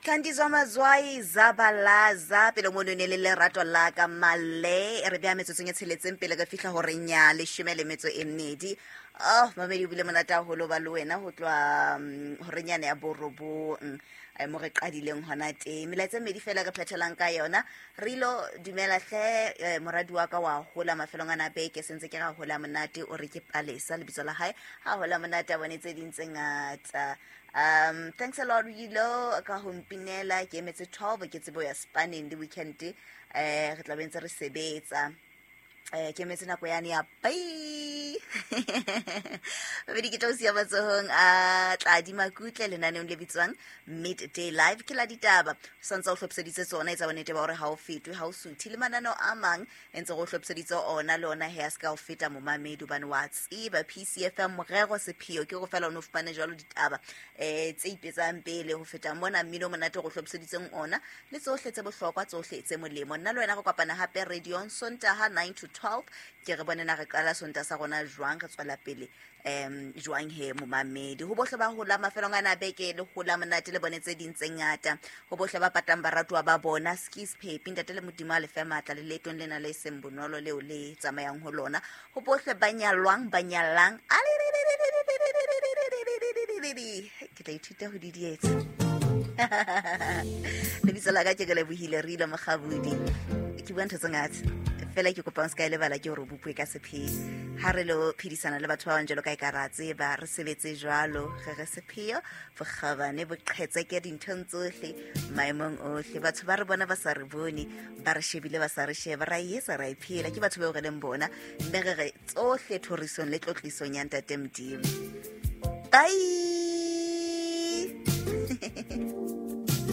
Thandiswa Mazwai Zabalaza pele mono ne le lerato la ka male re bea metsotsong e tsheletseng pele re fihla horeng ya leshome le metso e mmedi. Oh mamedi, o bile monate haholo ba le wena ho tloha horeng yane ya borobong, mo re qadileng hona teng. Melaetsa e mmedi fela re phethelang ka yona. Re ilo dumela hle, moradi wa ka wa hola mafelong ana a beke, sentse ke ra hola monate, o re ke Palesa lebitso la hae, ha hola monate a bone tse ding tse ngata. Thanks a lot Wilo ka ho mpinela, ke emetse 12 ke tsebo ya spanning le weekend, re tla be ntse re sebetsa, ke emetse nako yane ya pai. Babedi ke tla o siya matsohong a Tladi Makutle lenaneong le bitswang Midday Live, ke la ditaba santse o hlophiseditse tsona. Etsa bonnete ba hore ha o fetwe, ha o suthe le mananeo a mang e ntse go hlophiseditse ona, le ona he a se ka o feta momamedi, hobane wa tseba PCFM morero sepheo ke go fela o ne o fumane jwalo ditaba tse ipetsang pele ho feta mona, mmino o monate go hlophiseditseng ona le tsohle tse bohlokwa, tsohle tse molemo. Nna le wena re kopana hape radiong Sontaha 9 to 12. Ke re bone na re qala Sontaha sa rona jwang, re tswela pele jwang he momamedi. Ho bohle ba hola mafelong ana a beke, le hola monate le bone tse ding tse ngata. Ho bohle ba patang baratuwa ba bona, skis phepi, ntate le Modimo a lefe matla le leetong lena le seng bonolo leo le tsamayang ho lona. Ho bohle ba nyalwang, ba nyalang, ke tla ithuta ho didietsa. Lebitso la ka ke Kelebohile re ile Mokgabudi. Ke bua ntho tse ngata fela, ke kopang se ka e lebala ke hore bopuwe ka sepheo ha re lo phedisana le batho ba bang jalo ka e ka ra tseba re sebetse jwalo, re re sepheo bokgabane boqhetseke dinthong tsohle, maemong ohle. Batho ba re bona ba sa re bone, ba re shebile ba sa re sheba, ra e etsa, ra e phela, ke batho bao re leng bona, mme re re tsohle thorisong le tlotlisong ya ntate Modimo. Bye.